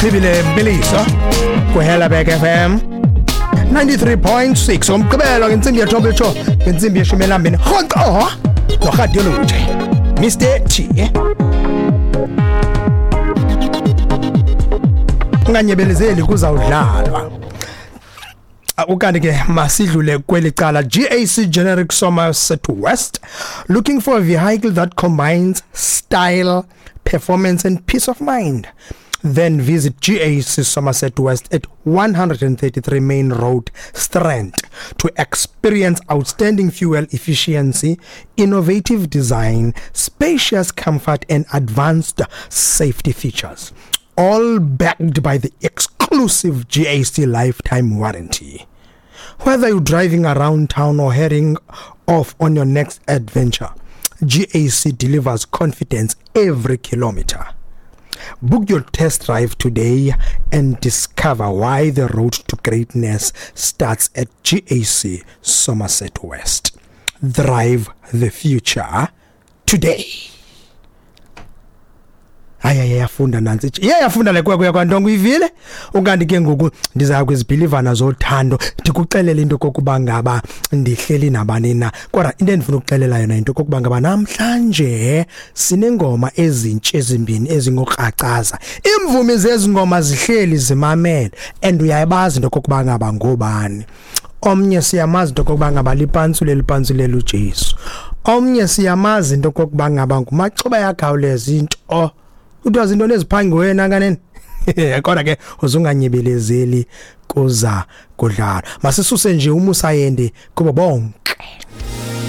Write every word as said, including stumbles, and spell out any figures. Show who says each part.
Speaker 1: Chibile Mbiliso kuHelabek F M ninety-three point six umgqibelo ngentsimbi yethoba itsho ngentsimbi yeshumi elambini rhoqo noRhadioluje Mister T. Unganyebelezeli kuzawudlalwa. Ukanti ke masidlule kweli cala. G A C Generic Somerset West, looking for a vehicle that combines style, performance and peace of mind. Then visit G A C Somerset West at one thirty-three Main Road, Strand, to experience outstanding fuel efficiency, innovative design, spacious comfort and advanced safety features, all backed by the exclusive G A C lifetime warranty. Whether you're driving around town or heading off on your next adventure, G A C delivers confidence every kilometer. Book your test drive today and discover why the road to greatness starts at G A C Somerset West. Drive the future today. Hayi hayi yafunda nansi. Iyafunda le kwekwe yakwantongo uyivile. Ukanti ke ngoku ndiza kwizibhilivana zothando ndikuxelele into kokuba ngaba ndihleli nabani na. Kodwa into endifuna ukuxelela yona into kokuba ngaba namhlanje sinengoma ezintsha ezimbini ezingokracaza. Imvumi zezingoma zihleli zimamele and uyayibazi into kokuba ngaba ngobani. Omnye siyamazi into kokuba ngaba lipantsule lipantsule uJesu. Omnye siyamazi into kokuba ngaba ngumaxuba yakhawuleza into. Kuthiwa zinto neziphangiwe nakanene. Kodwa ke uzunganyebelezeli kuza kudlala. Masisuse nje umusayende kubo bonke.